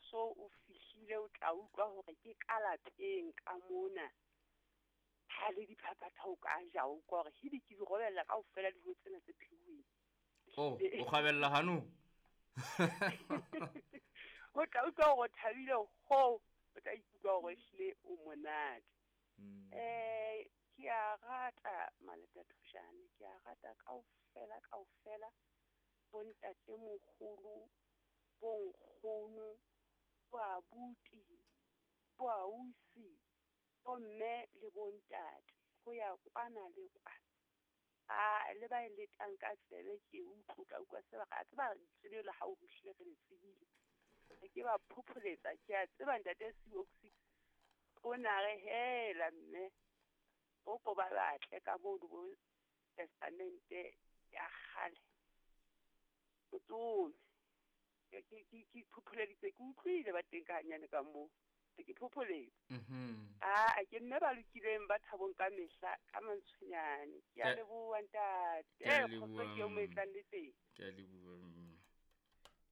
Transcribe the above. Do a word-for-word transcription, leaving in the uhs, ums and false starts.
so o fihlile o tla utlwa hore ke ka lapeng ka mona. Ha le diphaphatha o ka ja o utlwa hore hidi ke di robella kaofela dijo tsena tse pheuweng. Oh, o kgabella hanong? O tla utlwa hore o thabile ho, o tla ikutlwa hore ehlile o monate. Mm. Eh, ke a rata Maleta Thoshane, ke a rata kaofela kaofela bontate moholo, bonkgono, boabuti, boausi, bomme le bontate, ho ya kwana le kwana. A le ba e letang ka tsebe ke utlwe ka utlwa se ba re, a tseba lentswe la hao hlile re le tsebile. Ke ba phopholetsa, ke a tseba ntate Seoxy o na re hela mme o ko ba batle ka moo bo testamente ya kgale. O tsome. Ke ke ke ke phopholeditse, ke utlwile ba teng ka hanyane ka moo. Ke phopholetsa. Mhm. Ah, ke mme ba lokileng ba thabong ka mehla ka mantshonyane. Ke a Ke- leboha ntate. Ke a Eh, kgotso ke eo mo e leboha, tlang le teng. Ke a leboha, mme.